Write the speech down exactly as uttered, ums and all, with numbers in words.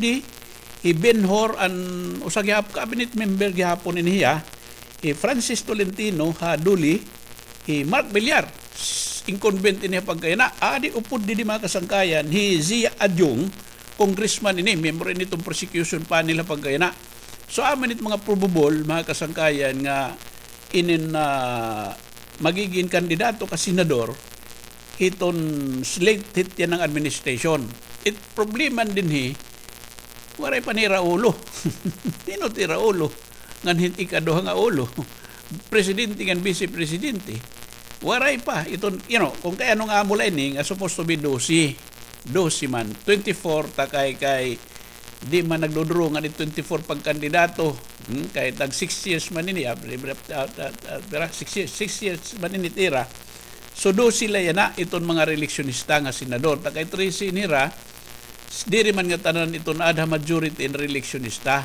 Di, hi Ben Hur, an usa gihap-, cabinet member gihapon ini hiya, hi Francis Tolentino ha Dole, hi Mark Villar, s-, incumbent ini ha pagkayana. Adi upod didi, mga kasangkayan, hi Zia Adiong, congressman ini, miyembro ini iton prosecution panel ha pagkayana. So, amo ini it mga probable, mga kasangkayan, nga inin, ah, magigin kandidato ka senador hiton slate hit yana nga administration. It problema dinhi, waray pa ni Raulo. Hin-o it Raulo? Ngan hin-, ikaduha nga ulo. Presidente ngan vice presidente. Waray pa. Iton, you know, kon kay ano nga amo la ini, nga supposed to be dose. Dose man. Twenty-four ta kay, kay di man nagduduro ngan it twenty-four pagkandidato. Hmm, kay tag six years man ini, ah, ah, ah, ah, pira? Six years, six years man ini it ira. So, dose la yana iton mga reeleksyonista nga senador. Ta kay trese ini hira, s-, diri man ngatanan iton aada ha majority in reeleksyonista.